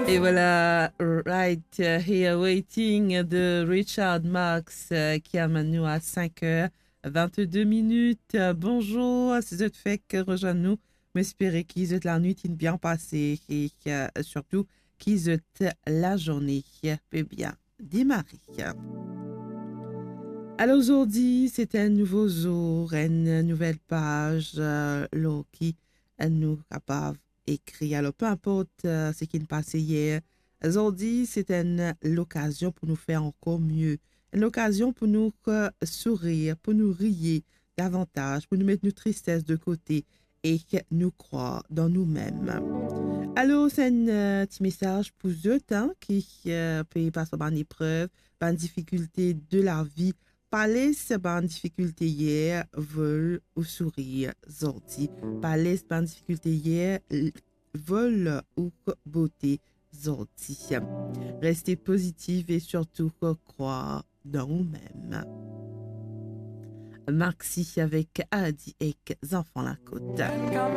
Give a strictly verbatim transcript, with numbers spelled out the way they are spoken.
E vwala, Right Here Waiting de Richard Marx, euh, ki amenn nou a cinq heures vingt-deux minutes. Euh, bonzour, si zot fek rezwenn nou, mo espere ki zot lanwit inn bien pase e, euh, sirtou ki zot lazourne pe bien demare. Alor, zordi, se enn nouvo zour, enn nouvel paz, euh, lor ki nou kapav ekrir. Alor, pe inport, euh, seki inn pase yer, zordi, se enn lokazion pou nou fer ankor mie. Enn lokazion pou nou, euh, sourir, pou nou riye davantaz, pou nou met nou tristes de kote e nou krwar dan noumem. Alor, se enn, euh, ti mesaz pou zot, hein, ki, euh, pe pas par bann eprev, bann difikilte de lavi. Pa les bann difikilte yer vol ou sourir zordi. Pa les bann difikilte yer, l-, vol ou bote zordi. Reste pozitif e sirtou krwar dan oumem. Maxi avek Adi ek Zanfan Lakot.